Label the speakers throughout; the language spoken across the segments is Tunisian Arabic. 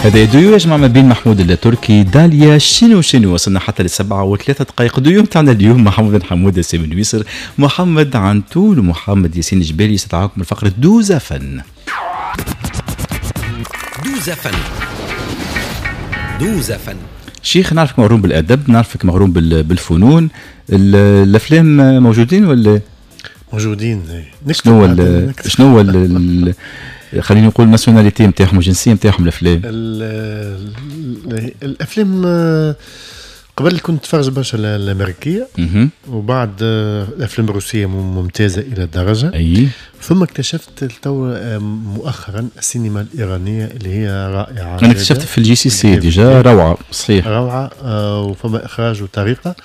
Speaker 1: هذا ديو يجمع ما بين محمود التركي داليا شنو شنو. وصلنا حتى ل7:03. ديو تاعنا اليوم محمد حمودة، سامي نويسر، محمد عنتول، ومحمد ياسين جبالي. استدعاكم من فقرة دوزة فن.
Speaker 2: دوزة فن، دوزة فن.
Speaker 1: شيخ، نعرفك مغروم بالادب، نعرفك مغروم بالفنون. الافلام موجودين ولا؟
Speaker 3: موجودين.
Speaker 1: شنو هو خليني نقول nationalité نتاعهم، الجنسية نتاعهم الافلام؟
Speaker 3: الافلام قبل كنت نتفرج برشا الامريكيه، وبعد الافلام الروسية ممتازة الى درجه. ثم اكتشفت تو مؤخرا السينما الايرانية اللي هي رائعه.
Speaker 1: انا اكتشفت في ال GCC déjà، روعه صحيح.
Speaker 3: روعه، وفما اخراج وطريقه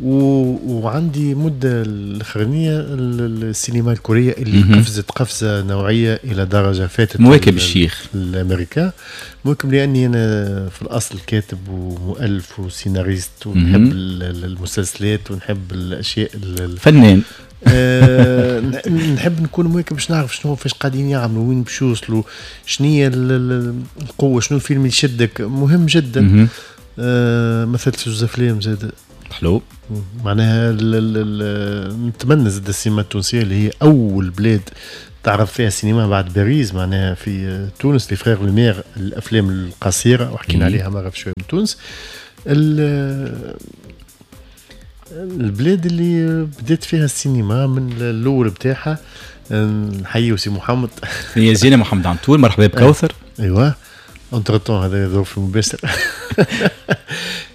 Speaker 3: وعندي مدة الأخرانية السينما الكورية اللي قفزت قفزة نوعية إلى درجة فاتت
Speaker 1: مواكب الشيخ.
Speaker 3: الأمريكا مواكب، لأني أنا في الأصل كاتب ومؤلف وسيناريست ونحب المسلسلات ونحب الأشياء.
Speaker 1: فنان.
Speaker 3: نحب نكون مواكب باش نعرف شنو فاش قاعدين يعملوا، وين باش يوصلوا، شنو هي القوة، شنو الفيلم اللي يشدك، مهم جدا. مثلت في زوز افلام زاد.
Speaker 1: حلو.
Speaker 3: معناها نتمنى زاد السينما التونسية اللي هي اول بلاد تعرف فيها السينما بعد باريس، معناها في تونس les frères Lumière، الافلام القصيرة وحكينا عليها مرة في شوية من تونس، البلاد اللي بدات فيها السينما من الاول بتاعها. نحيي سي محمد.
Speaker 1: يا زينة محمد عنتول، مرحبا بكوثر.
Speaker 3: ايوه، entre-temps هذا ظروف مباشر.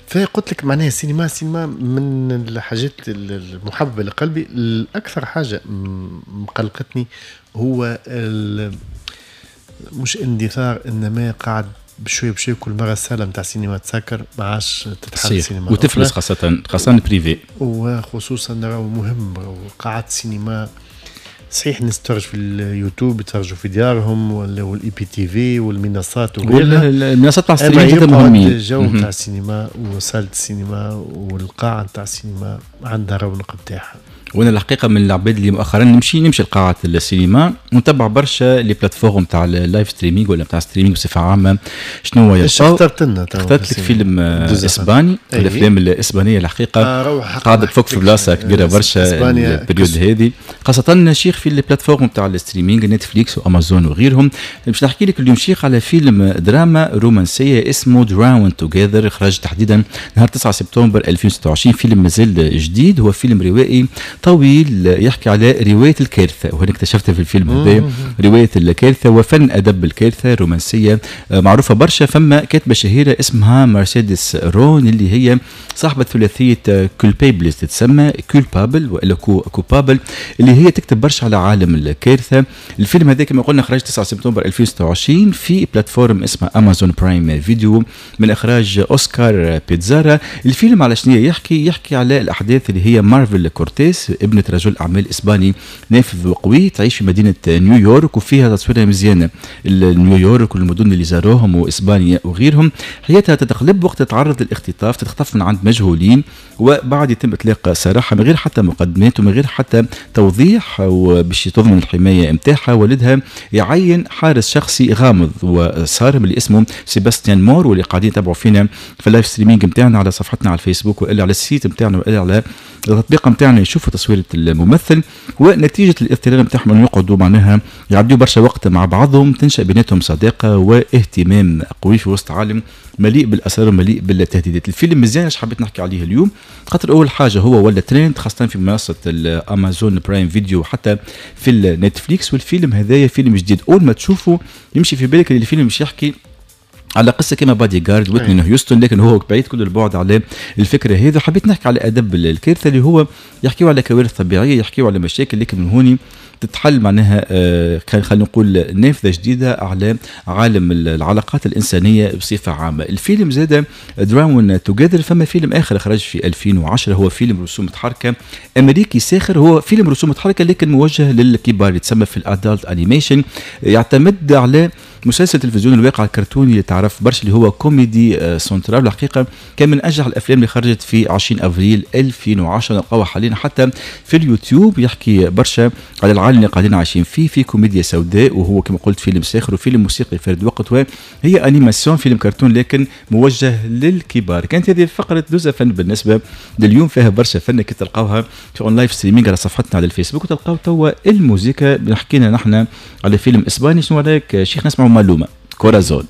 Speaker 3: فقلت لك معناها السينما، السينما من الحاجات المحببة لقلبي. الاكثر حاجة مقلقتني هو مش اندثار، انما قاعد بشوي بشوي كل مرة الساله نتاع السينما تسكر، ما عادش تتحل السينما.
Speaker 1: وتفلس، خاصة خاصة privé.
Speaker 3: وخصوصا راهو مهم قاعات السينما. صحيح الناس تتفرج في اليوتيوب، يتفرجوا في ديارهم وال IPTV والمنصات
Speaker 1: وغيرها. المنصات تاع ال streaming مهمين.
Speaker 3: الجو نتاع السينما وصالة السينما والقاعة نتاع السينما عندها رونق نتاعها.
Speaker 1: وانا الحقيقة من العباد اللي مؤخرا نمشي لقاعه السينما ونتبع برشا les plateformes تاع ال live streaming ولا تاع streaming بصفة عامه، شنو هو.
Speaker 3: اخترت لنا؟
Speaker 1: اخترت لك فيلم اسباني. الافلام الاسبانية الحقيقة قاعدة تفك في بلاصة كبيرة برشا ال période هذه، خاصة شيخ في les plateformes تاع ال streaming، نتفليكس وامازون وغيرهم. باش نحكي لك اليوم شيخ على فيلم دراما رومانسية اسمه Drawn Together، خرج تحديدا نهار 9 سبتمبر 2026. فيلم مازال جديد، هو فيلم روائي طويل يحكي على رواية الكارثه، وهنا اكتشفتها في الفيلم هذا، رواية الكارثة وفن ادب الكارثة الرومانسية معروفة برشا. فما كاتبه شهيرة اسمها مرسيدس رون اللي هي صاحبه ثلاثية Culpables، تتسمى Culpable والا Coupable، اللي هي تكتب برشا على عالم الكارثه. الفيلم هذا كما قلنا خرج 9 سبتمبر 2026 في plateforme اسمها امازون برايم فيديو، من اخراج اوسكار بيتزارا. الفيلم على شنو يحكي؟ يحكي على الاحداث اللي هي مارفل كورتيس، ابنة رجل اعمال اسباني نافذ وقوي، تعيش في مدينة نيويورك، وفيها تصويرها مزيانه نيويورك والمدن اللي زاروهم واسبانيا وغيرهم. حياتها تتقلب وقت تتعرض للاختطاف، تتخطف من عند مجهولين وبعد يتم اطلاق سراحها من غير حتى مقدمات ومن غير حتى توضيح. وباش تضمن الحماية نتاعها، والدها يعين حارس شخصي غامض وصارم اللي اسمه سيباستيان مور، واللي قاعدين يتابعوا فينا في ال live streaming نتاعنا على صفحتنا على الفيسبوك والا على ال site نتاعنا والا على التطبيق نتاعنا يشوفوا تصويره الممثل. ونتيجة الاضطرار نتاعهم انه يقعدوا معناها يعدوا برشا وقت مع بعضهم، تنشا بيناتهم صداقه واهتمام قوي في وسط عالم مليء بالاسرار ومليء بالتهديدات. الفيلم مزيان. علاش حبيت نحكي عليه اليوم؟ خاطر اول حاجة هو ولا ترند، خاصة في منصة الامازون برايم فيديو وحتى في النتفليكس. والفيلم هذايا فيلم جديد، اول ما تشوفه يمشي في بالك اللي الفيلم مش يحكي على قصة كما بادي جارد ويتني هيوستن، لكن هو بعيد كل البعد على الفكرة هذه. حبيت نحكي على ادب الكارثه، اللي هو يحكيوا على كوارث طبيعيه، يحكيوا على مشاكل، لكن من هوني تتحل معناها خلينا نقول نافذة جديدة على عالم العلاقات الانسانية بصفة عامه. الفيلم زاد Drawn Together. فما فيلم اخر خرج في 2010، هو فيلم رسوم متحركة امريكي ساخر، هو فيلم رسوم متحركة لكن موجه للكبار، يتسمى في ال adult animation، يعتمد على مسلسل تلفزيوني الواقع الكرتوني اللي تعرف برشا اللي هو كوميدي سنترال. الحقيقة كان من انجح الافلام اللي خرجت في 20 افريل 2010، نلقاوها حاليا حتى في اليوتيوب. يحكي برشا على العالم اللي قاعدين عايشين فيه، في كوميديا سوداء، وهو كما قلت فيلم ساخر وفيلم موسيقي فرد وقت، وهي animation فيلم كرتون لكن موجه للكبار. كانت هذه فقره دوزا فن بالنسبة لليوم، فيها برشا فن كي تلقاوها في en live streaming على صفحتنا على الفيسبوك، وتلقاو توا الموسيقى. حكينا نحن على فيلم اسباني، شنو رايك شيخ نسمعوا مالوما Corazón؟